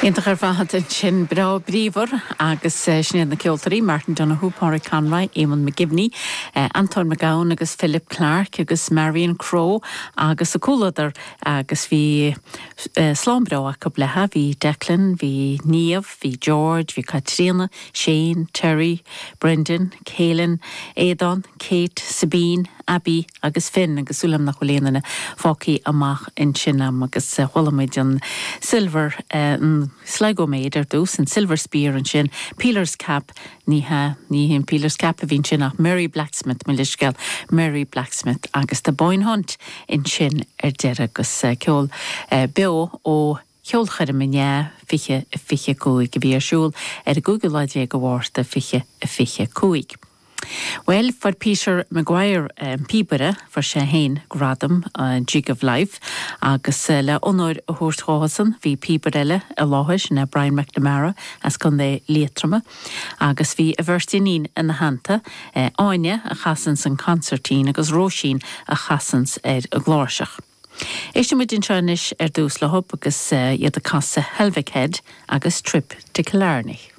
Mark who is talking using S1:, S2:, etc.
S1: Iontach ar fad ansin, breá bríomhar agus sin iad na ceoltóirí, Martin Donohoe, Pádraig Conroy, Eamonn McGivney, Antóin Mac Gabhann agus Philip Clarke agus Marion Crowe agus a comhluadar agus bhí slám breá acu léithe, bhí Declan, bhí Niamh, bhí George, bhí Caitríona, Shane, Terry, Brendan, Kealan, Aodán, Kate, Sabine, Abby agus Finn agus súil agam nach bhfuil aon duine fágtha amach ansin a'm agus chuala muid an Silver, an Sligo Maid ar dtús, an Silver Spear ansin, Peeler's Cap, ní hea, ní hé an Peeler's Cap a bhí ansin ach Mary Blacksmith, mo leithscéal, Mary Blacksmith agus The Boyne Hunt ansin ar deireadh agus ceol beo ó Cheolchoirm inné 20 25 a bhí ar siúl ar an gcúigiú lá déag de Mhárta 20 25. Bhuel, fuair Peter Maguire, an píobaire, fuair sé féin gradam an Jig of Life agus le onóir a thabhairt dhósan bhí píobaire eile i láthair, sin é Brian McNamara as Contae Liatroma agus bhí a bheirt iníon ina theannta, Áine a chasanns an consairtín agus Róisín a chasanns ar an gcláirseach. Éistfidh muid anseo anois ar dtús leo agus iad ag casadh Helvick Head agus Trip to Killarney.